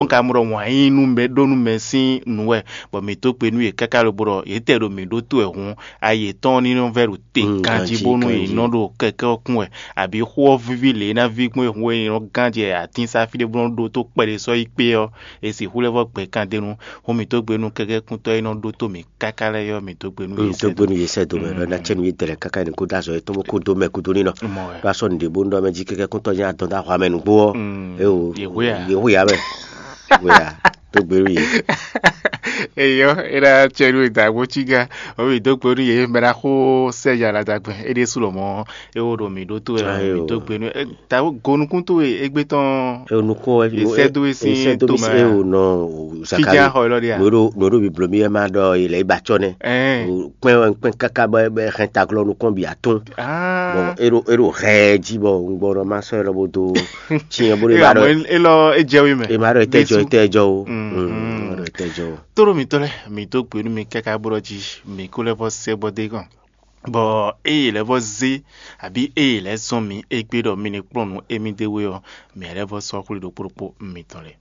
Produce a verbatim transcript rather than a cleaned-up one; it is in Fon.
Ka mɔ ɖɔ wǎn yí nú mɛ ɖó nú mɛ sín nǔ wɛ, bɔ mǐ dó gbe nú yě káká lobo ɖɔ yě tɛ ɖo mǐ ɖótó wɛ hǔn, ayi yětɔn ní nɔ vɛ́ ɖo te ganjí bónú yě nɔ ɖo kɛkɛ́ ɔ́ kún wɛ, abǐ xó ɔ́ víví lě e ná ví gbɔn e hun e è nɔ gán jɛ atín sá fí ɖé bó nɔ́ ɖótó kpɛɖé sɔ́ yi kpé ɔ́, è sixú lɛ́ vɔ́ gbɛ kan d'é nu. Hǔn mǐ dó gbe nú kɛkɛ́kúntɔ́ e nɔ ɖótó mǐ káká lɛ́ɛ ɔ́, mǐ dó gbe nú yě. Dó gbe nú yě sɛ do mɛ ɖɔ ná cɛ nú yě dɛlɛ káká ní kó dó azɔ yětɔn bó kó dó mɛ kúdó nínɔ. Mɔ wɛ. Bá sɔ́ nǔɖé bó nú ɖɔ mɛ jí kɛkɛ́kúntɔ́ nyí adɔn dó ahwa mɛ nǔgbó ɔ́. Mm. É o. Yě hwe a? Yě hwe a mɛ. Hwe a? Dó gbe nú yě. Eyɔ, é ná cɛ nú dǎgbó cí gá. Ɔ́ mǐ dó gbe nú yě mɛ ná xó sɛ ya la dàgbẹ́ é ɖésú lɔ mɔ̌. É wo ɖo mǐ ɖótó wɛ. Ayo. Mǐ dó gbe nú ta gonukún towe égbé tɔn. E nukun wɛ. Esɛ dó e sín esɛ dó mi tomɛ. E o nɔ. Fidja xɔ lɔ ɖe a? Nɔɖo nɔɖo bi bló mi wɛ ma ɖɔ ilẹ̀ ibà tsɔ nɛ. Ɛn. Kpɛn wɛ kpɛn kaka bɔ ɛ hɛn taglɔ nukun bi atún. Ah. Bɔn e ɖo e ɖo hɛ jí bɔ ŋgbɔ nɔ ma sɔ ɛ lɔ bo do. Tiɲɛ bó de ba ɖɔ. Elɔ e jɛ wi mɛ. E ma ɖɔ e tɛ jɔ e tɛ jɔ o. Mm, mm. E ma ɖɔ e tɛ jɔ o. Toro mitɔ lɛ mi dó gbe nú mi káká bó ɖɔ jí mi kó lɛ vɔ sɛ bɔ dé kàn. Bɔ eye lɛ́ vɔ zé, abǐ eye lɛ́ zɔ́n mǐ égbé ɖɔ mi ní kplɔ́n nǔ émí d'é wé ɔ́, mǐ lɛ́ vɔ sɔ́ xwlé ɖokpó ɖokpó mitɔn lɛ́ɛ.